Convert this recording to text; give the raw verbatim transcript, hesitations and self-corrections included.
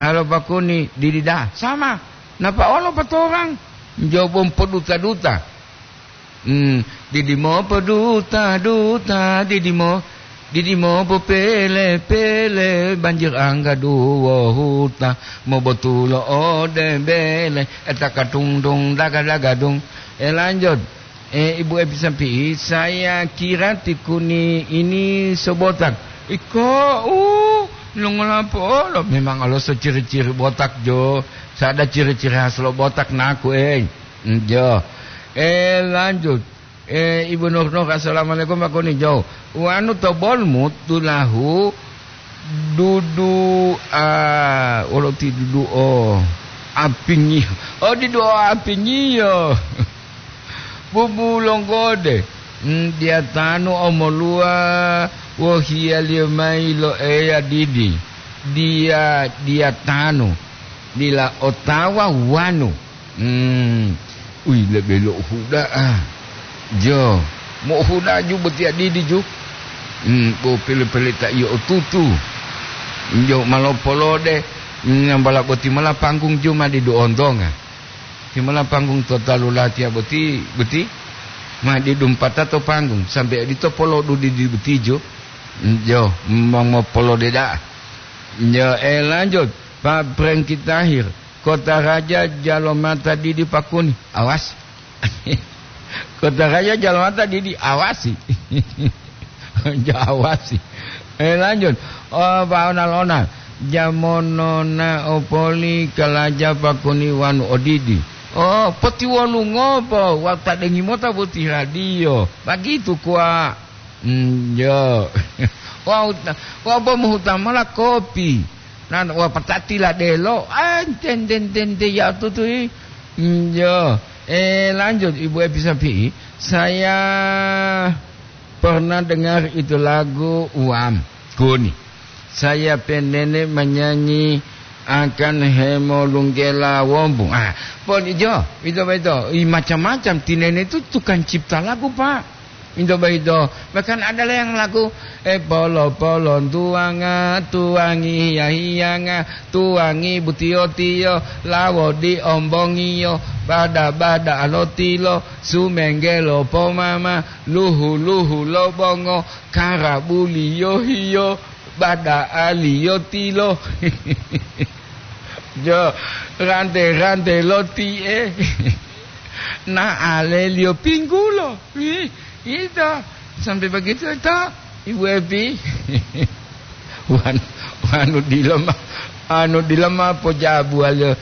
Halo pakuni, didi da'a. Sama. Napa olo patorang? Jobong poduta-duta. Hmm, didi mo poduta-duta, didi mo, didi mo popele-pele, banjir angga duwo huta, mobotulo ode bele, etaka tung-tung, daga-dagadung. Eh, lanjut. Eh, Ibu Epi Sampi'i, saya kira tikuni ini sobotak. Iko, uh, longola po'olo. Memang olo so ciri-ciri botak, jo. Sada ciri-ciri khas lo botak naku, eh. Mm, jo. Eh, lanjut. Eh, Ibu Nur Nur, assalamualaikum, Pak Kuni, jo. Wanu to bolmu tulahu dudu, ah, wolo ti dudu o apingi. Oh, dudu o apingiyo. Bubu longgode, mm, diyatanu omoluwa wohiyaliyo mayi lo Eya didi. Diya, diyatanu, dila otawa wanu. Mm, uyi lebe lo uhuda'a. Jo, mo'ohuda'a ju botiya didi ju. Mm, bo pele-pele ta iyo otutu. Jo malopolode, mm, nambala boti mola panggung ju ma didu ontonga. Timola panggung to talu latiya boti, boti, ma didumpata to panggung, sambe odito polodu didi boti jo. Jo, mongopolode da'a. Jo, eh, lanjut, Pak Prengki Tahir, Kota Raja Jalomata didi pakuni. Awas. Kota Raja Jalomata didi, awasi. Jawasi. Eh, lanjut. Oh, Pak Onal-onal. Jamonona opoli kalaja pakuni wanu odidi. Oh, potiwolungopo, wau tadengi mota boti radio. Bagitu kuwa. Mm, jo. Wau ta-, wau bo mohuta mola kopi. Nan wau patati ladelo. Ah, ten, ten, ten, ten, ya tutui. Mm, jo. Eh, lanjut, Ibu Epi Sapi'i. Saya pernah dengar itu lagu uam kuni. Saya penene menyanyi akan hemolunggela wombu. Ah, pon ijo, ito beto, i macam-macam. Tinene itu tukang cipta lagu, Pak. Ito beto, bahkan ada yang lagu, eh, polo-polo tuanga, tuangi hiya-hiyanga, tuangi butiyo-tiyo, lawo di ombongiyo, bada-bada alotilo, sumenggelo pomama, luhu-luhu lo bongo, karabuliyo hiyo, bada'aliyo tilo. Jo, rante-rante lo ti'e. Na'aleliyo pinggulo. Ih, ito. Sampai begitu to, Ibu Epi. Wan-, wanu dila ma, anu dila ma pojabuwaliyo.